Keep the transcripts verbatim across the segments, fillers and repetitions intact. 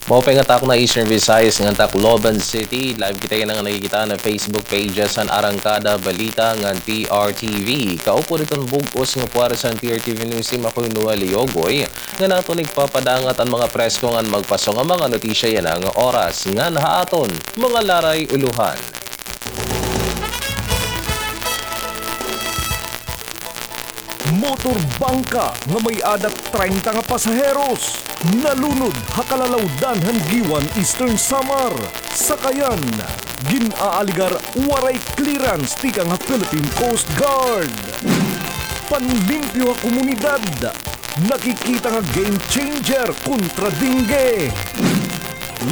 Maupay nga takna Eastern Visayas ngan Tacloban City. Live kita yana nga nakikita han Facebook pages han Arangkada Balita ngan P R T V. Kaupod hiton bug-os nga puwersa han P R T V News Team, ako hi Noel Yogoy, ngan aton igpapadangat an mga presko ngan magpaso nga mga notisya yana nga oras. Ngan ha aton mga laray ulohan. Motor bangka nga may-ada treinta nga pasaheros nalunod ha kalalawdan han Guiuan, Eastern Samar. Sakayan, gin-aaligar waray clearance tikang ha Philippine Coast Guard. Panlimpyo ha komunidad, nakikita nga game changer kontra dengue.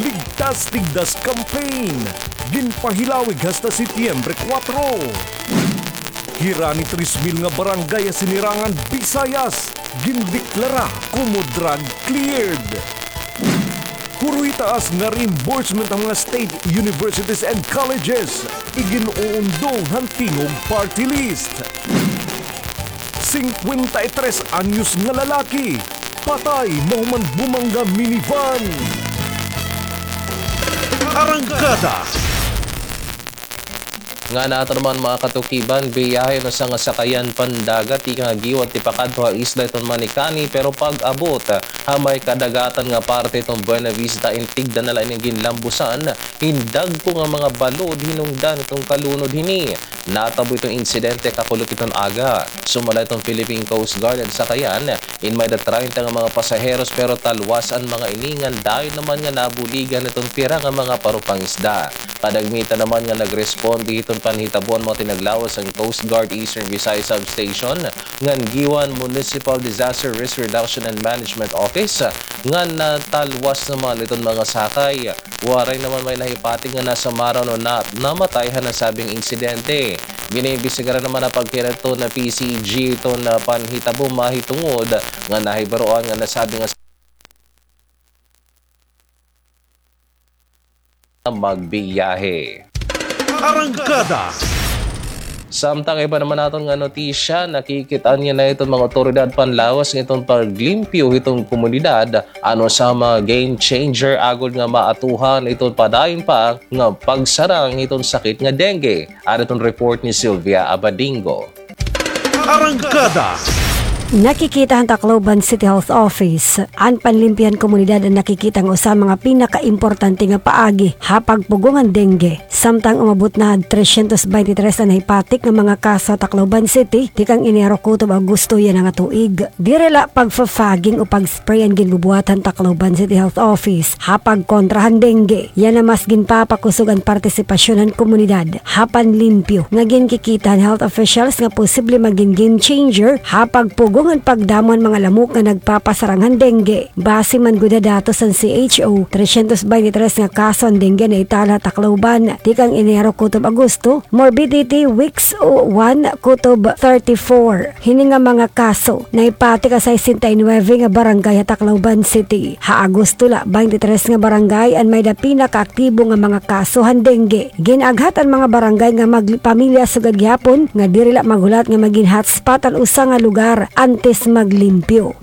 Ligtas Tigdas campaign, ginpahilawig hasta Setyembre kuwatro. Hirani tres mil nga barangay ha sinirangan Visayas, gindeklara komo drug cleared. Huroy taas nga reimbursement han mga state universities and colleges, igin-uundong han Tingog Party List. Singkwenta y tres anyos nga lalaki, patay mahuman bumangga minivan. Arangkada. Ngan aton naman, mga katukiban, biyahe an usa nga sakayan pandagat tikang ha Guiuan tipakadto ha isla hiton Manicani, pero pag-abot ha may kadagatan nga parte hiton Buena Vista, in tigda na la ini nga ginlambusan hin dagko nga mga balod hinungdan hiton kalunod hini. Natabo iton insidente kakulop hiton aga. Sumala hiton Philippine Coast Guard an sakayan, in may-ada treinta nga mga pasaheros, pero talwas an mga ini ngan dayon naman nga nabuligan hiton pira nga mga parupangisda. Kadagmitan naman nga nagresponde hiton panhitabo an mga tinaglawas han Coast Guard Eastern Visayas Substation ngan Guiuan Municipal Disaster Risk Reduction and Management Office, ngan natalwas naman iton mga sakay. Waray naman may nahipatik nga nasamaran o na-, namatay ha nasabing insidente. Giniimbestigaran naman ha pagkira hiton P C G iton panhitabo mahitungod nga nahibaroan nga nasabi nga magbiyahe. Arangkada. Samtang iba naman naton nga notisya, nakikit-an niya na iton mga awtoridad panlawas nga iton paglimpyo hiton komunidad, ano sa mga game changer agod nga maatuhan iton padayon pa nga pagsarang hiton sakit nga dengue. Ano iton report ni Sylvia Abadingo? Arangkada. Nakikita han Tacloban City Health Office, an panlimpyo han komunidad an nakikita nga usa mga pinakaimportante nga paagi ha pagpugong han dengue. Samtang umabot na ha tresyentos baynte tres an nahipatik nga mga kaso ha Tacloban City, tikang Enero kutob Agosto yana nga tuig. Diri la pagfa-fogging o pag-spray an ginbubuhat han Tacloban City Health Office ha pagkontra han dengue. Yana mas ginpapakusog an partisipasyon han komunidad ha panlimpyo nga ginkikita han health officials nga posible magin game changer ha pagpugong han pagdamo han mga lamok nga nagpapasarang han dengue. Base man gud ha datos han C H O, tresyentos baynte tres nga kaso han dengue an naitala ha Tacloban tikang Enero kutob Agosto, morbidity weeks one kutob thirty-four. Hini nga mga kaso nahipatik ha sesenta y nuebe nga barangay ha Tacloban City. Ha Agosto la, baynte tres nga barangay an may-ada pinakaaktibo nga mga kaso han dengue. Gin-aghat an mga barangay nga magpamilya sugad gihapon nga diri la maghulat nga magin hotspot an usa nga lugar antes maglimpyo.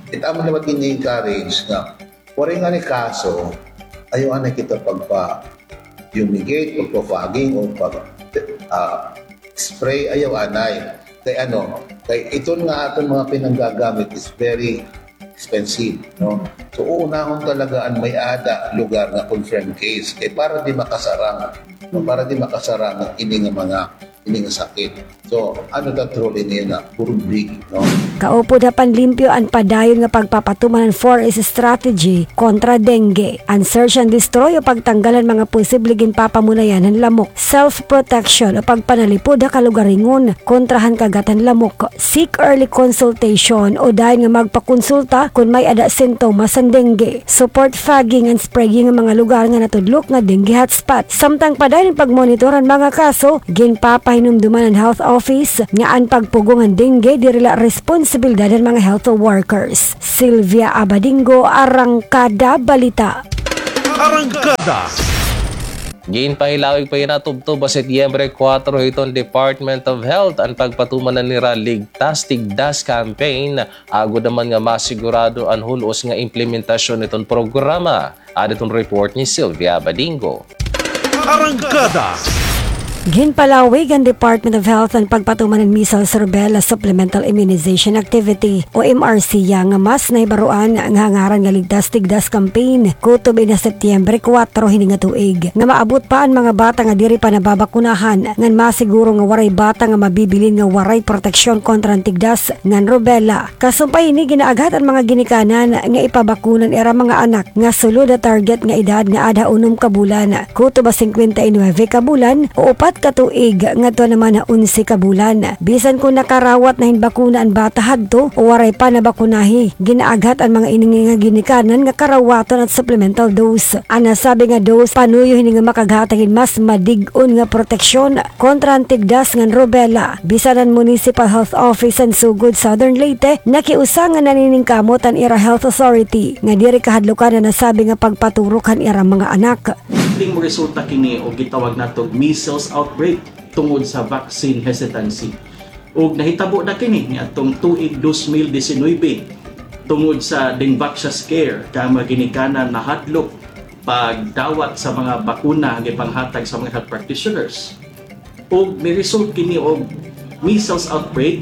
It amo liwat gini-encourage nga waray ngani kaso, ayaw anay kita pagpa-fumigate, pagpa-fogging, o pag, ah, spray, ayaw anay. Kay ano, kay iton nga aton mga pinanggagamit is very expensive, no? So, uunahon talaga an may-ada lugar nga confirmed case. Kay para di makasarang, no? Para di makasarang ini nga mga ini nga sakit. So, ano ta truly niya na, puro big, no? Kaupod ha panlimpyo an padayon nga pagpapatuman han four S strategy kontra dengue. An search and destroy o pagtanggal han mga posible ginpapamunayan han lamok, self-protection o pagpanalipod ha kalugaringon kontra han kagat han lamok, seek early consultation o dayon nga magpakonsulta kon may-ada sintomas han dengue. Support fogging and spraying han mga lugar nga natudlok nga dengue hotspot. Samtang padayon an pagmonitor han mga kaso, ginpapahinumduman han health office nga an pagpugong han dengue diri la responsibilidad han mga health workers. Sylvia Abadingo, Arangkada Balita. Arangkada. Ginpahilawig pa yana tubtob ha Setyembre kuwatro hiton Department of Health an pagpatuman han ira Ligtas Tigdas campaign, agod naman nga masigurado an hul-os nga implementasyon hiton programa. Ada iton report ni Sylvia Badingo. Arangkada. Ginpalawig han Department of Health an pagpatuman han measles rubella supplemental immunization activity o M R C ya nga mas nahibaroan nga hangaran nga Ligtas Tigdas campaign kutob ini ha Setyembre kuwatro hini nga tuig, nga maabot pa an mga bata nga diri pa nababakunahan ngan masiguro nga waray bata nga mabibilin nga waray proteksyon kontra han tigdas ngan rubella. Kasumpay hini, ginaaghat an mga ginikanan nga ipabakuna an ira mga anak nga sulod ha target nga edad nga aada ha unom ka bulan, kutob ha singkwenta y nuwebe ka bulan o upat ka tuig ngadto naman ha onse ka bulan. Bisan kon nakarawat na hin bakuna an bata hadto o waray pa nabakunahi, ginaaghat an mga ini nga ginikanan nga karawaton an supplemental dose. An nasabi nga dose panuyo hini nga makaghatag hin mas madig-on nga proteksyon kontra han tigdas ngan rubella. Bisan an Municipal Health Office han Sogod, Southern Leyte, nakiusa nga naniningkamot an ira health authority nga diri kahadlukan an nasabi nga pagpaturok han ira mga anak. Posibleng moresulta kini og gitawag nato og measles outbreak tungod sa vaccine hesitancy. Ug nahitabo na kini niadtong tuig dos mil disinuybe tungod sa Dengvaxia scare, kay mga ginikanan nahadlok pagdawat sa mga bakuna nga ipanghatag sa mga health practitioners. Ug ni-result kini og measles outbreak,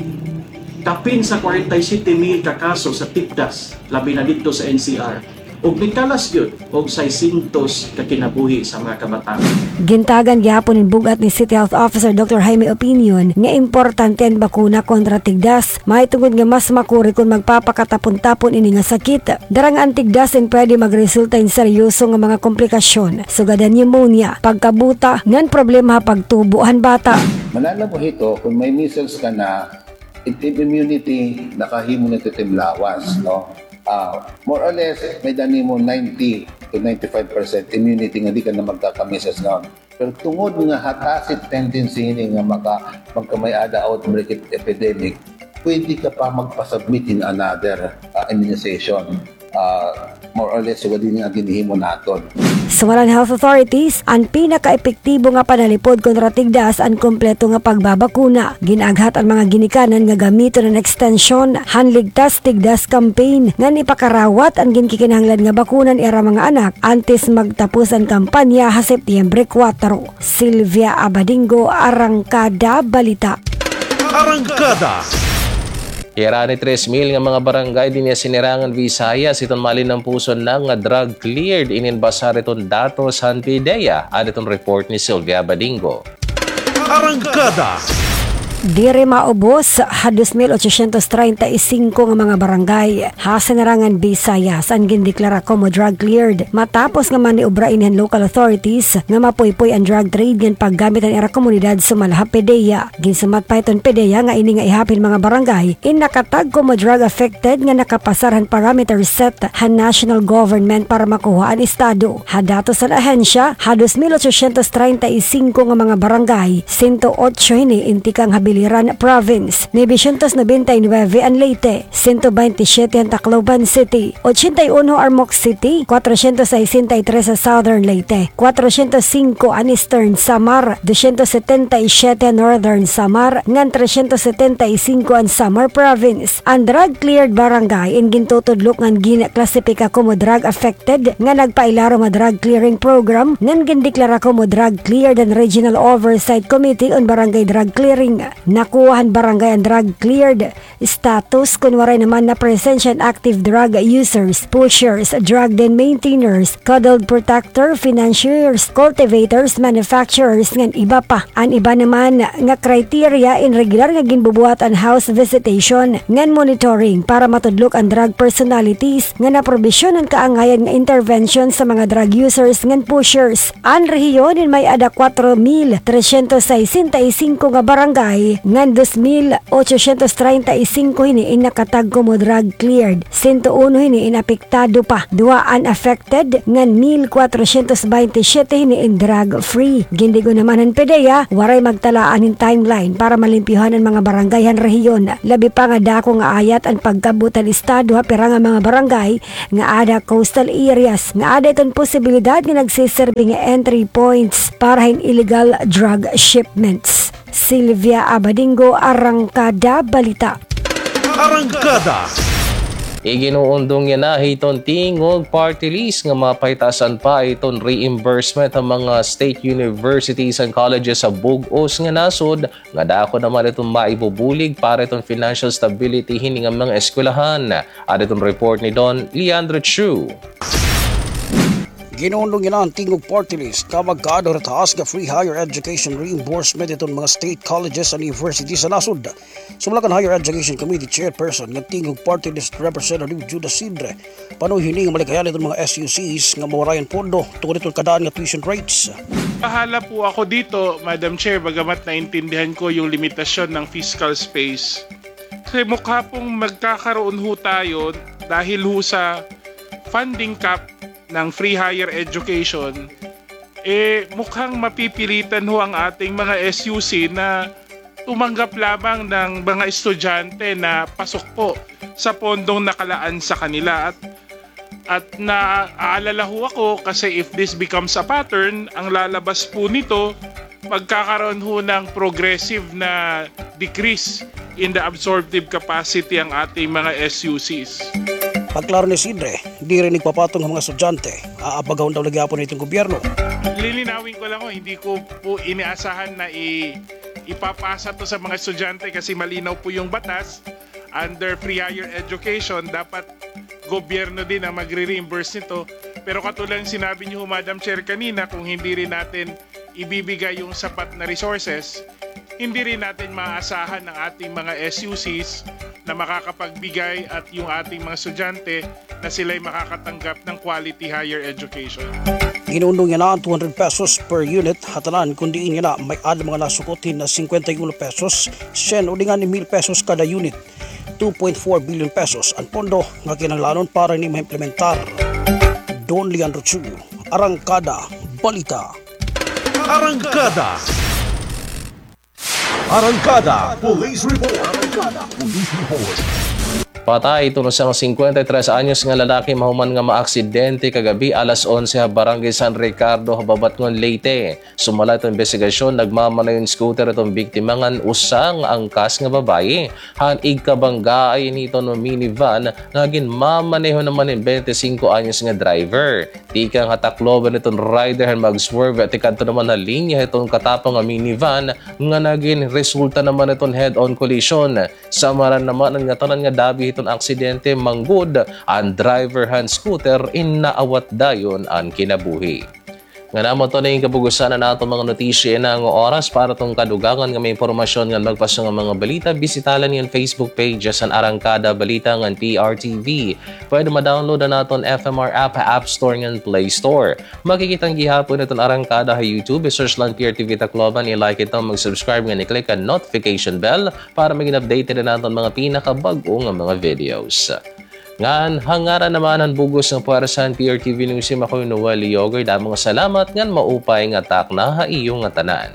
kapin sa kwarenta y siyete mil ka kaso sa tigdas, labi na didto sa N C R, ug nikalas gyud og seiscientos ka kinabuhi sa mga kabataan. Gintagan gihapon hin bug-at ni City Health Officer Doctor Jaime Opinion nga importante an bakuna kontra tigdas, mahitungod nga mas makuri kon magpapakatapon-tapon ini nga sakit. Dara nga an tigdas in pwede magresulta hin seryoso nga mga komplikasyon, sugad han pneumonia, pagkabuta, ngan problema ha pagtubo han bata. Mananabo hito, kon may measles ka na, it, it immunity, nakahimo na ito tim lawas, no? Ah, more or less, may-ada nimo ninety to ninety-five percent immunity nga di ka na magkaka-measles nga. Pero tungod nga ha tacit tendency hini nga maka-, magkamay-ada outbreak it epidemic, pwede ka pa magpa-submit hin another, ah, immunization. Ah, more or less, sugad hini nga ginhihimo naton. Sumala han health authorities, an pinakaepektibo nga panalipod kontra tigdas an kompleto nga pagbabakuna. Gin-aghat an mga ginikanan nga gamiton an ekstensyon han Ligtas Tigdas campaign ngan ipakarawat an ginkikinahanglan nga bakuna han ira mga anak antes magtapos an kampanya ha Setyembre kuwatro. Sylvia Abadingo, Arangkada Balita. Arangkada. Hirani tres mil nga mga barangay dinhi ha Sinirangan, Visayas, iton malinampuson na nga drug cleared inin basar iton datos han PDEA. Ada iton report ni Sylvia Badingo. Arangkada. Diri maubos ha dos mil ochocientos treinta y cinco nga mga barangay ha Sinirangan, Visayas, an gindeklara komo drug cleared matapos nga maniobra ini han local authorities nga mapuypoy an drug trade ngan paggamit han ira komunidad sumala ha PDEA. Ginsumat pa hiton PDEA nga ini nga ihap hin mga barangay in nakatag komo drug affected nga nakapasar han parameter set han national government para makuha an estado. Ha datos han ahensya, ha dos mil ochocientos treinta y cinco nga mga barangay, sento otso hini in tikang ha Biliran Province, novecientos nobenta y nuebe an Leyte, sento bente y siyete an Tacloban City, ochenta y uno Armoc City, cuatrocientos sesenta y tres ha Southern Leyte, cuatrocientos cinco an Eastern Samar, doscientos setenta y siete an Northern Samar, ngan trescientos setenta y cinco an Samar Province. An drug cleared barangay in gintutudlok ngan ginklasipika komo drug affected nga nagpailarom ha drug clearing program ngan gindeklara komo drug cleared han Regional Oversight Committee on Barangay Drug Clearing. Nakuha han barangay an drug cleared status kon waray naman napresensya an active drug users, pushers, drug den maintainers, codled protector, financiers, cultivators, manufacturers, ngan iba pa. An iba naman nga criteria in regular nga ginbubuhat an house visitation ngan monitoring para matudlok an drug personalities nga naprobisyon han kaangayan nga intervention sa mga drug users ngan pushers. An rehiyon in may-ada kuwatro mil tresyentos sesenta y singko nga barangay ngan dos mil ochocientos treinta y singko hini in nakatag komo drug cleared. Sento uno hini in apektado pa, duha an affected ngan mil kwatrosyentos baynte syete hini in drug free. Gindig-on naman han PDEA, waray magtalaan hin timeline para malimpyuhan an mga barangay han rehiyon. Labi pa nga dako nga ayat an pagkab-ot han estado ha pira nga mga barangay nga aada coastal areas nga aada iton posibilidad nga nagsiserbi nga entry points para hin illegal drug shipments. Sylvia Abadingo, Arangkada Balita. Arangkada. Iginuundong yana hiton Tingog Party List nga mapahitaas-an pa iton reimbursement han mga state universities and colleges ha bug-os nga nasod, nga dako naman iton maibubulig para iton financial stability hini nga mga eskwelahan. Ada iton report ni Don Leandro Chu. Ginuundong yana han Tingog Party List nga magkaada ha taas nga free higher education reimbursement iton mga state colleges and universities ha nasod. Sumala kan Higher Education Committee Chairperson nga Tingog Party List Representative Judas Sidre, panuyo hini nga malikayan iton mga S U Cs nga mawarayan pondo tungod iton kadaan nga tuition rates. Bahala po ako dito, Madam Chair, bagamat naintindihan ko yung limitasyon ng fiscal space. Kasi mukha pong magkakaroon ho tayo dahil ho sa funding cap ng free higher education, eh, mukhang mapipilitan ho ang ating mga S U C na tumanggap lamang ng mga estudyante na pasok po sa pondong nakalaan sa kanila. At, at naaalala ho ako kasi if this becomes a pattern, ang lalabas po nito, magkakaroon ho ng progressive na decrease in the absorptive capacity ang ating mga S U Cs. Pagklaro ni Sidre, diri nagpapatong ang mga estudyante, aabagahon daw la gihapon iton gobyerno. Lilinawin ko lang ho, hindi ko po inaasahan na i-, ipapasa to sa mga estudyante kasi malinaw po yung batas. Under free higher education, dapat gobyerno din ang magre-reimburse nito. Pero katulad ng sinabi niyo ho, Madam Chair, kanina, kung hindi rin natin ibibigay yung sapat na resources, hindi rin natin maaasahan ang ating mga S U Cs na makakapagbigay at yung ating mga estudyante na sila'y makakatanggap ng quality higher education. Ginuundong yana an two hundred pesos per unit ha tanan, kun diin yana may-ada mga nasukot hin singkwenta y uno pesos, syen o di ngani mil pesos kada unit. Two point four billion pesos an pondo nga kinahanglanon para hini maimplementar. Don Leandro Chu, Arangkada Balita. Arangkada. Arangkada Police Report. Arangkada Police Report. Patay iton usa nga singkwenta y tres anyos nga lalaki mahuman nga maaksidente kagab-i alas onse ha Barangay San Ricardo ha Babatngon, Leyte. Sumala iton imbestigasyon, nagmamaneho hin scooter iton biktima ngan usa nga angkas nga babaye. Han igkabanggaay ini iton minivan nga ginmamaneho naman hin bente singko anyos nga driver. Tikang ha Tacloban iton rider han mag-swerve tikadto naman ha linya hiton katapang nga minivan nga nagin resulta naman iton head-on collision. Samaran naman an ngatanan nga dabi hiton aksidente, manggod an driver han scooter, in naawat dayon an kinabuhi. Ngan amo ito na it kabug-osan han aton mga notisya yana nga oras. Para hiton kadugangan nga mga impormasyon ngan magpaso nga mga balita, bisita la niyo an Facebook page han Arangkada Balita ngan P R T V. Pwede ma-download an aton F M R app ha App Store ngan Play Store. Makikita an gihapon hiton Arangkada ha YouTube. I-search la an P R T V Tacloban, i-like ito, mag-subscribe ngan i-click an notification bell para magin updated an aton mga pinakabag-o nga mga videos. Ngan ha ngaran naman han bug-os nga puwersa han P R T V News Team, ako hi Noel Yogoy. Damo nga salamat ngan maupay nga takna ha iyo ngatanan.